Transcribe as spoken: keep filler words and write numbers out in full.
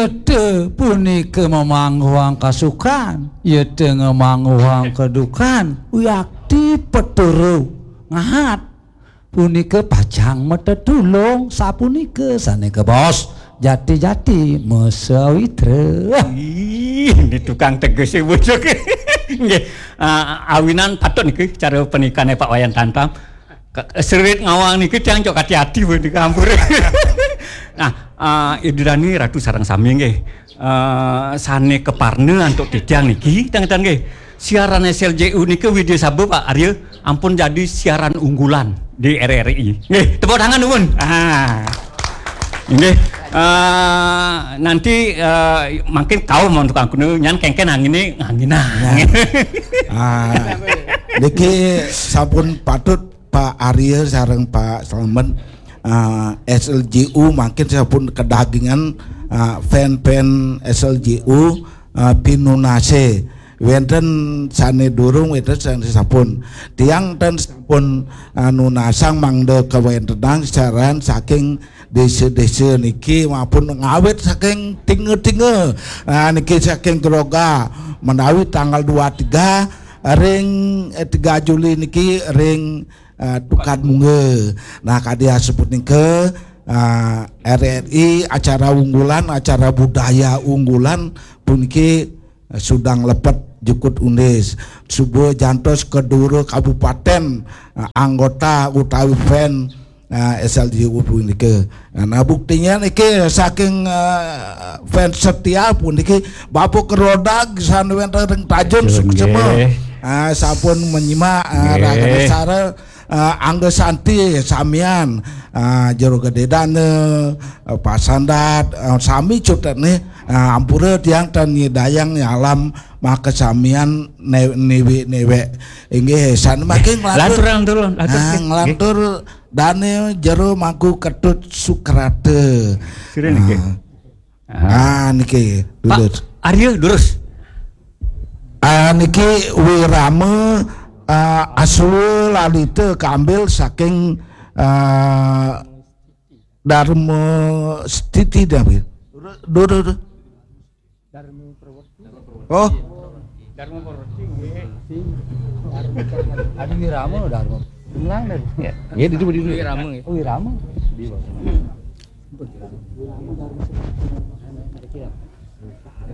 Yéta punika mamangguhang kasukan, yéta ngamangguhang kadukan, wiakti peturu ngahat. Punika pacang matetulung, sapunika sané kabaos jati-jati masawitra. Ih, ini tukang teges ya, Bujur. Nggih, ah, awinan patut niki cara panikané Pak Wayan Tantam. Ka-, serit ngawang niki tiang cok hati-hati, Bu, niki ampun. Nah, ah, Ida Dani, Ratu sareng sami nggih. Eh, sané kaparna antuk titiang niki, tang-tang nggih. Siaran S L J U niki Widya Sabha, Pak Arya, ampun jadi siaran unggulan di R R I. Nggih, tepuk tangan nuwun. Ah. Nggih. Eh, nanti, eh, mungkin kau mau tukang kuno, nyan kéngkén anginé, anginan. Ah, niki sampun patut Pak Arya sareng Pak Slamet, ah, S L J U mangkin sampun kadagingan, ah, fan-fan S L J U, ah, pinunasé. Wénten sané durung, wénten sané sampun. Tiang ten sampun, ah, nunasang mangda kawéntenan siaran saking désa-désa niki maupun ngawit saking Tinga-Tinga. Ah, niki saking Groga menawi tanggal dua tiga ring, eh, tiga Juli niki ring, eh, Tukad Mungga. Nah, kadi asebut nika, eh, R R I acara unggulan, acara budaya unggulan puniki, eh, Sudang Lepet Jukut Undis. Suba jantos kedua kabupaten, eh, anggota utawi fan, eh, S L J U punika. Nah, buktinya niki saking, eh, fans setia puniki Bapak Kerodag sané wénten ring Tajun Tajun, Suksema. Nggih. Ah, sampun menyimak, ah, Nggih. Raga Besara, ah, Angga Santi samian, ah, Jero Gedé Dana, ah, Pak Sandat, ah, sami cutet nih, ah, ampura tiang tan nyidayang nyalam maka samian ne-, niwi-niwek. Inggih, sané mangkin nglantur. Lantur, lantur, lantur. Ah, nggih. Nglantur Dané Jero Mangku Ketut Sukrata. Sira niki. Ah. Ah, niki, Pak Dudut. Arya, durus. Ah, niki Wirama, ah, Aswa Lalita kaambil saking, ah, Dharma Stiti, dah, Wi. Durus, durus, durus. Oh. Dharma Purwati, nggih. Adi Wirama, Dharma. Ulang dah. Ya. Ya, itu, itu. Wirama, nggih. Oh, Wirama. Di bawah.